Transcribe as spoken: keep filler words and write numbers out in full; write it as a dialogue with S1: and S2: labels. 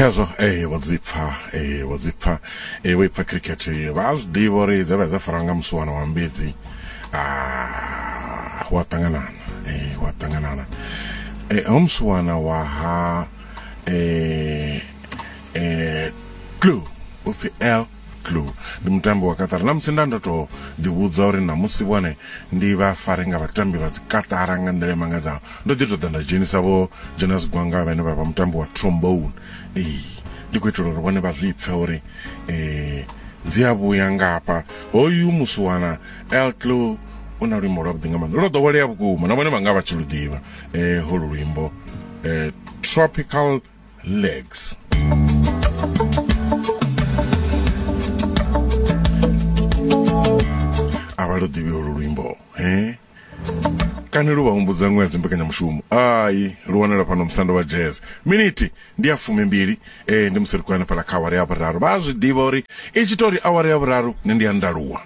S1: Khazwo eh vho dzipfa eh vho dzipfa eh vho ipfa cricket vha zwi ḓivha uri dza vha dza fara nga musuwana wa mbedzi ah wa ṱanganana eh wa ṱanganana eh ho musuwana wa ha eh eh clue upfi L clue ndi mutambi wa Qatar na musi nda ndo to ḓivhudza uri namusi vhone ndi vha fare nga vhatambi vha dzi Qatar nga nḓila i mangadzaho ndo ḓi ṱoḓa nda dzhenisa vho Jonas Gwanga vhane vha vha mutambi wa trombone ee ndi khou itela uri vhone vha zwi pfe uri eh dzi a vhuya ngafha hoyu musuwana L Clue u na luimbo lwavhuḓi nga maanḓa lwo ḓowelea vhukuma na vhone vha nga vha tshi lu ḓivha eh holu luimbo eh Tropical Legs. A vha lu ḓivhi holu luimbo he kani lu vha humbudza ṅwe ya dzimbekanyamushumo ai lu wanala fhano musando wa jazz miniti ndi ya fumimbili eh ndi musi ri khou hanefhaḽa kha awara ya vhuraru vha a zwi ḓivha uri i tshi tori awara ya vhuraru nṋe ndi ya ndaluwa.